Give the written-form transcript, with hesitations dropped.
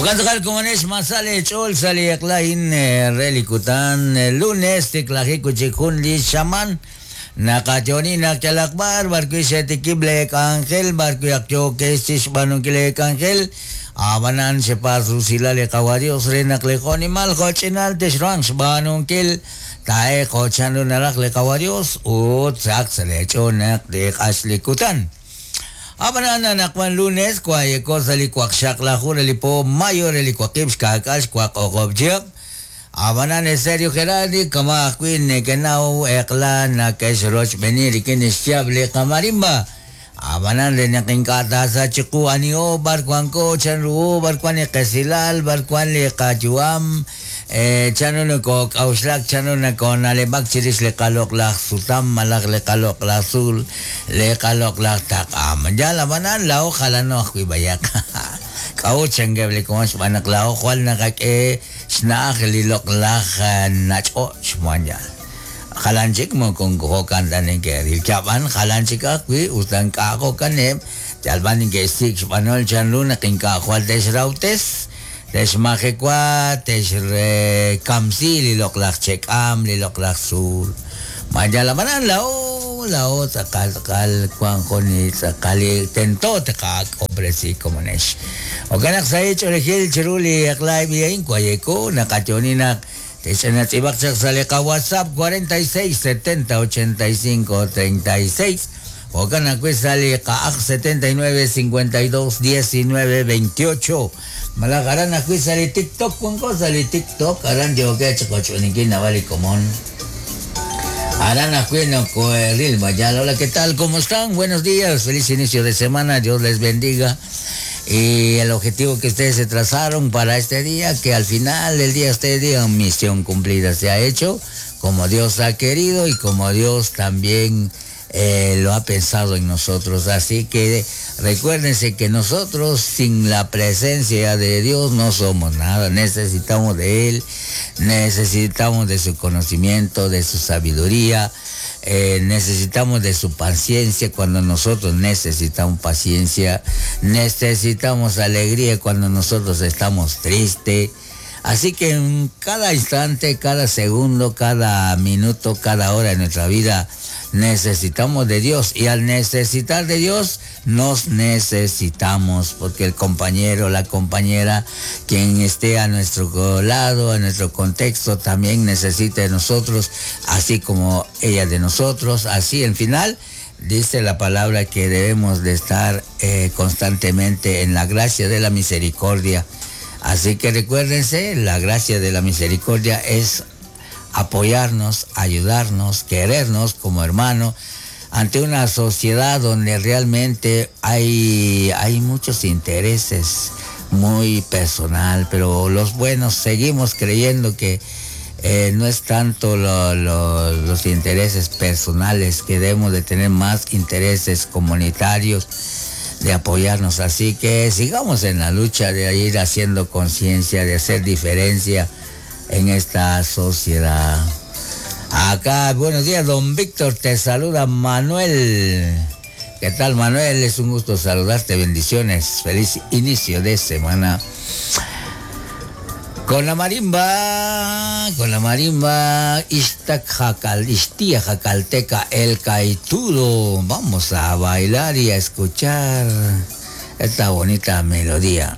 Jo'kan tz'aqal komonex ma sa leech'ool sa' li eq'la a'in re li kutan lunes tiklajik wi' chik jun li xamaan. Naqayo'oni naq yalaq b'ar b'arwi' xetikib' leek'anjel b'arwi' ak yookex chi xb'aanunkil leek'anjel, ab'anan xepaatz' rusilal li Qawa' Yos re naq li jo'nimal jo'ch'inal texruhanq xb'aanunkil taa'elq jo' chanru naraj li Qawa' Yos ut sahaq sa' leech'ool naq teeq'ax li kutan. Ab'anan anaqwan lunes waayeko sa' li waqxaqlaju re li po mayo re li waqib' xkaak'al xwaq o'q'ob' chihab'. Ab'anan Eserio Gerardi kama' ajwi' nekenaw eq'la nake'xrochb'eeni rik'in xyaab' li qamarimba. Ab'anan re naq ink'a' taasach chiqu aniho, b'ar wanko, chanruho, b'ar wan li qesilal, b'ar wan li qayu'am, chanru nokook'a'uxlak, chanru nakoona'leb'ak chirix li qaloq'laj sutam malaj li qaloq'laj tzuul, li qaloq'laj taq'a. Yaal ab'anan laa'o jalano ajwi' b'ayaq. K'a'ut chankeb' li komon xb'aan naq laa'o jwal naqak'e xna'aj li loq'laj nach'och' wan yaal. Jalan chik moko jo'kan ta neke'ril. Yab'an jalan chik ajwi' usta ink'a' jo'kaneb', yal b'an neke'xsik' xb'anol chanru naq ink'a' jwal te'xrawtes. Texmajewa, texkamsi li loq'laj che'k'aam, li loq'laj tzuul. Ma yal ab'anan laa'o, laa'o tz'aqal tz'aqal wank jun li tz'aqal li tento tqak'ob'resi komonex. Jo'kan naq sahil ch'oolejil chiru li eq'la eb' li a'in wayeko naqayo'oni naq texch'inatz'iib'aq chaq sa' li qaWhatsApp 46 70 85 36 Jo'kan ajwi' sa' li qa'aj 79 52 19 28 malaj aran ajwi' sa' li TikTok wanko sa' li TikTok aran yookeb' chi qoch'uninkil naab'al li komon aran ajwi' nokoeril vaya hola qué tal cómo están buenos días feliz inicio de semana Dios les bendiga y el objetivo que ustedes se trazaron para este día que al final del día ustedes digan misión cumplida se ha hecho como Dios ha querido y como Dios también eh, lo ha pensado en nosotros. Así que recuérdense que nosotros sin la presencia de Dios no somos nada. Necesitamos de Él, necesitamos de su conocimiento, de su sabiduría. Eh, necesitamos de su paciencia cuando nosotros necesitamos paciencia, necesitamos alegría cuando nosotros estamos tristes. Así que en cada instante, cada segundo, cada minuto, cada hora de nuestra vida, necesitamos de Dios. Y al necesitar de Dios, nos necesitamos, porque el compañero, la compañera, quien esté a nuestro lado, a nuestro contexto, también necesita de nosotros, así como ella de nosotros. Así, en final, dice la palabra que debemos de estar eh, constantemente en la gracia de la misericordia. Así que recuérdense, la gracia de la misericordia es apoyarnos, ayudarnos, querernos como hermano ante una sociedad donde realmente hay, hay muchos intereses muy personal, pero los buenos seguimos creyendo que eh, no es tanto los intereses personales, que debemos de tener más intereses comunitarios, de apoyarnos. Así que sigamos en la lucha de ir haciendo conciencia, de hacer diferencia en esta sociedad. Acá, buenos días, don Víctor, te saluda Manuel. ¿Qué tal, Manuel? Es un gusto saludarte, bendiciones. Feliz inicio de semana. Con la marimba, con la marimba, Iztac Jacal, Ixtía Jacalteca, el Caitudo. Vamos a bailar y a escuchar esta bonita melodía.